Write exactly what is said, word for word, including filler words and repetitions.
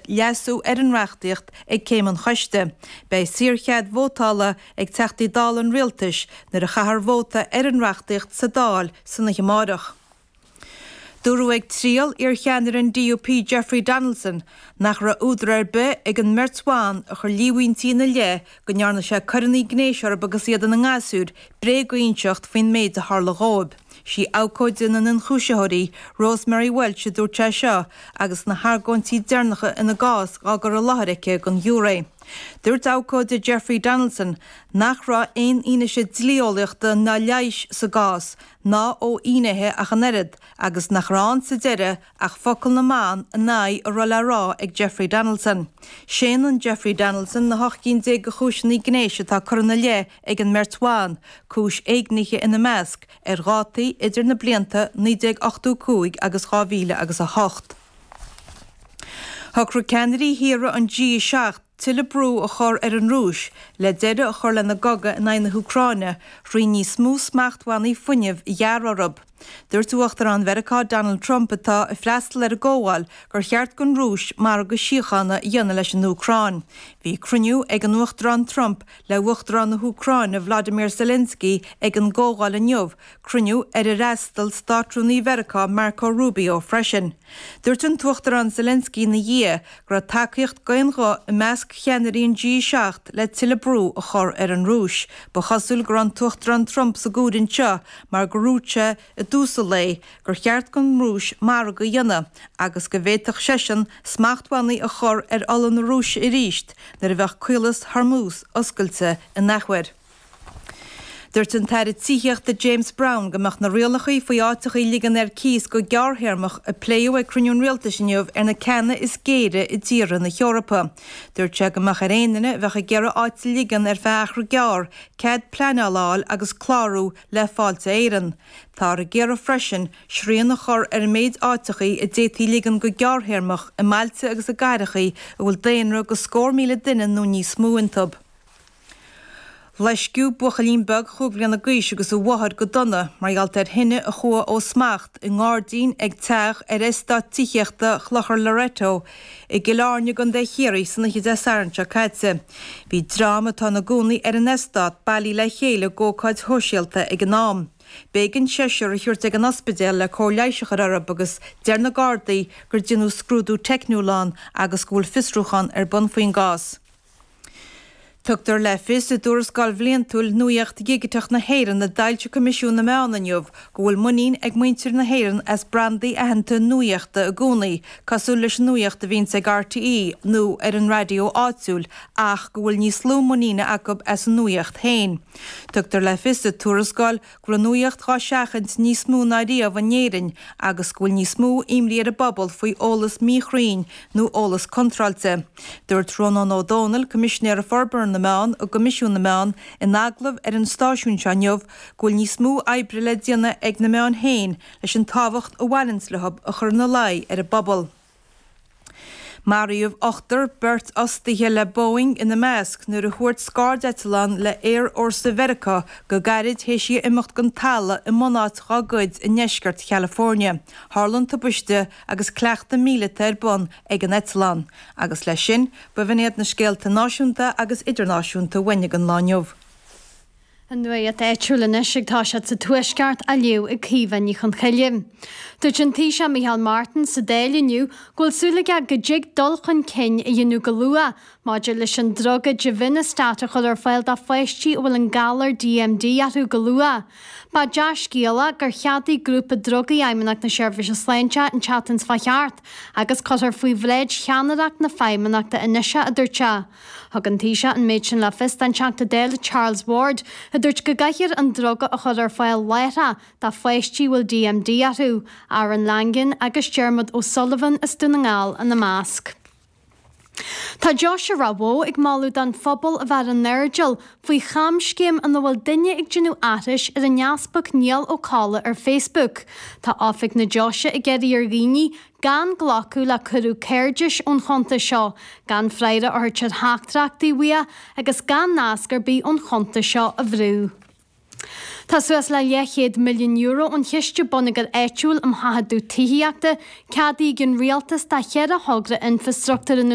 leasú ar an reachtaíocht ag céim an choiste. Beidh saorchead vótála ag Teachtaí Dála an Rialtais nuair a chaithfear vóta ar an reachtaíocht sa Dáil san oíche amárach. Dúradh ag triail iarcheannaire an DUP Jeffrey Donaldson nach raibh údar ar bith ag an mbeirt bhan a chuir líomhaintí ina leith go ndearna sé coireanna gnéis orthu agus iad ina ngasúir bréag a inseacht faoin méid a tharla dóibh. Sí abhcóide na n-ionchúisitheoirí Rosemary Welch a dúirt sé seo agus na hargóintí deireanacha ina gcás á gcur i láthair aici don ghiúiré. Dúirt abhcóide Jeffrey Donaldson nach raibh aon fhianaise dlí-eolaíochta ná leighis sa gcás ná ó fhinnéithe ach an oiread agus nach raibh ann sa deireadh ach focail na mban in aghaidh a raibh le rá ag Jeffrey Donaldson. Séanann Jeffrey Donaldson na hocht gcinn déag de chúiseanna gnéis atá curtha ina leith ag an mbeirt bhan, cúis éignithe ina measc, ar dhátaí idir na blianta naoi déag ochtó cúig agus dhá mhíle agus a hocht. Shocraigh ceannairí thíortha an G seacht tuilleadh brú a chur ar an Rúis le deireadh a chur lena gcogadh in aghaidh na hÚcráine thrí níos mó smachtbhannaí fuinnimh a ghearradh orthu. Dúirt Uachtarán Mheiriceá Donald Trump atá ag freastal ar an gcomhdháil gur cheart don Rúis margadh síochána a dhéanamh leis an Úcráin. Bhí cruinniú ag an Uachtarán Trump le Uachtarán na hÚcráine Vladimir Zelensky ag an gcomhdháil inniu, cruinniú ar ar fhreastail Státrúnaí Mheiriceá Marco Rubio freisin. Dúirt an tUachtarán Zelensky ina dhiaidh go raibh tacaíocht d'aon ghuth i measc cheannairí an G seacht le tuilleadh brú a chur ar an Rúis. Ba chosúil go raibh an tUachtarán Trump sa gcomhaireamh seo mar gur dhúirt sé i dtús an lae gur cheart don Rúis margadh a dhéanamh agus go bhféadfadh seisean smachtbhannaí a chur ar ola na Rúise arís nuair a bheadh Caolas Hormuz oscailte in athuair. Dúirt an tAire Tithíochta James Browne go mbeadh na rialacha faoi áiteacha a ligean ar cíos go gearrthéarmach a pléadh ag cruinniú an rialtais inniu ar na ceanna is géire i dtíortha na hEorpa. Dúirt sé go mbeadh ar aon duine a bheadh ag iarraidh áit a ligean ar feadh achar gearr cead pleanála a fháil agus clárú le Fáilte Éireann. Táthar ag iarraidh freisin srian a chur ar an méid áiteacha a d'fhéadfaí ligean go gearrthéarmach i mbailte agus i gcathracha a bhfuil daonra de scór míle duine nó níos mó iontu. Loisceadh buachaillín beag chúig bhliana d'aois agus a mháthair go dona mar gheall ar thine a chuaigh ó smacht i ngairdín ag teach ar eastát tithíochta Chlochar Loreto i gCill Airne i gContae Chiarraí san oíche Dé Sathairn seo caite. Bhí dream atá ina gcónaí ar an eastát bailithe le chéile d'ócáid shóisialta ag an am. B'éigean seisear a thabhairt ag an ospidéal le cóir leighis a chur orthu agus deir na Gardaí gur déanadh scrúdú teicniúil ann agus go bhfuil fiosrúchán ar bun faoin gcás. Tugtar le fios i dtuarascáil bhliantúil Nuaíocht Dhigiteach na hÉireann a d'fhoilsigh Coimisiún na Meán inniu go bhfuil muinín ag muintir na hÉireann as brandaí aitheanta nuaíochta i gcónaí, cosúil leis an nuaíocht a bhíonns ag RTÉ nó ar an raidió áitiúil, ach go bhfuil níos lú muiníne acu as an nuaíocht féin. Tugtar le fios sa tuarascáil go bhfuil an nuaíocht dhá seachaint níos mó ná riamh in Éirinn agus go bhfuil níos mó imní ar an bpobal faoi eolas míchruinn nó eolas contráilte. Dúirt Rónán Ó Domhnaill, Coimisinéir Forbartha na Meán i gCoimisiún na Meán, in agallamh ar an stáisiún seo inniu go bhfuil níos mó oibre le déanamh ag na meáin féin leis an tábhacht a bhaineanns leo a chur ina luí ar an bpobal. Maraíodh ochtar, beirt fhostaithe le Boeing ina measc, nuair a thuairt scairdeitleán le Aerfhórsa Mheiriceá go gairid théis í a imeacht den talamh i mbunáit dá gcuid i ndeisceart Chalifornia. Tharla an tubaiste agus cleachtadh míleata ar bun ag an eitleán. Agus leis sin, b'in iad na scéalta náisiúnta agus idirnáisiúnta uainn ag an lá inniu. An nuacht áitiúil anois ag toiseacht sa Tuaisceart á léamh ag Caoimhe Ní Chonchoille. Dúirt an Taoiseach Micheál Martin sa Dáil inniu go bhfuil súil aige go dtig dul chun cinn a dhéanamh go luath maidir leis an druga Givinostat a chur ar fáil do pháistí a bhfuil an galar DMD orthu go luath. Ba dea-scéala gur cheadaigh grúpa drugaí Fheidhmeannacht na Seirbhíse Sláinte an tseachtain seo thart agus cuirfear faoi bhráid cheannaireacht na Feidhmeannachta anois é, a dúirt sé. Thug an Taoiseach an méid sin le fios don Teachta Dála Charles Ward, a dúirt go gcaithfear an druga a chur ar fáil láithreach do pháistí a bhfuil DMD orthu, Aaron Langan agus Dermot O'Sullivan as Dún na nGall ina measc. Tá Deoise Ráth Bhoth ag moladh don phobal a bheith ar an airdeall faoi chamscéim ina bhfuil duine ag déanamh aithris ar an Easpag Niall Ó Colla ar Facebook. Tá oifig na Deoise ag iarraidh ar dhaoine gan glacadh le cuireadh cairdis ón chuntas seo, gan freagra a thabhairt ar theachtaireachtaí uaidh agus gan nasc ar bith ón chuntas seo a bhrú. Tá suas le leathchéad milliún euro ón Chiste Bonneagair Áitiúil um Sheachadadh Tithíochta ceadaithe ag an Rialtas do cheithre thogra infreastruchtúir i nDún